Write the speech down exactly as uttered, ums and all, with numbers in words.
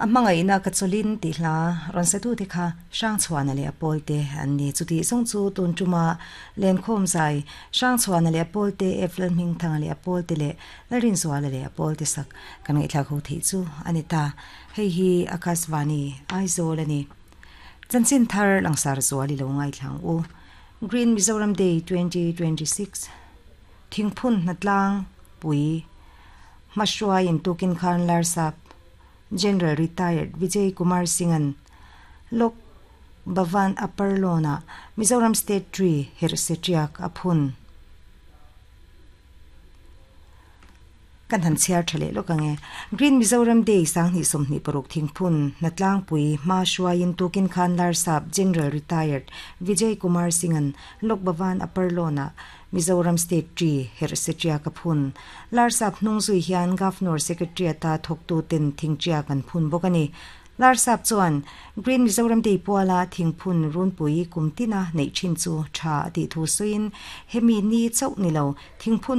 A hmangaihna ka chawlin tih hla rawn satu te kha Hrangchhuana leh a pawlte an ni. Chuti zawng chu tun tuma Lenkhawm zai Hrangchhuana leh a pawlte, Eflal Hmingthanga leh a pawlte leh Lalrinzuala leh a pawlte sak kan ngaihthlak ho theih chu a ni ta. Hei hi Akashvani Aizawl a ni. Chanchin thar langsar zual i lo ngaithlang u. Green Mizoram Day twenty twenty six Thingphun hnatlang pui hmahruai intukin khan Larsap General Retired Vijay Kumar Singh-a'n Lok Bhavan Upper Lawn-ah Mizoram State Tree herhse tiak a phun. Kan han chhiar tha leh lawk ang e. Green Mizoram Day sanghnih sawmhnih paruk thingphun hnatlangpui hma hruaiin tukin khan Larsap General Retired Vijay Kumar Singh-a'n Lok Bhavan Upper Lawn-ah Mizoram State Tree herhse tiak a phun. Larsap hnung zui hian Governor Secretariat-a thawktuten thingtiak an phun bawk a ni. Larsap chuan Green Mizoram Day puala thingphun runpui kum tina neih thin chu tha a tih thu sawiin hemi ni chauh ni lo thingphun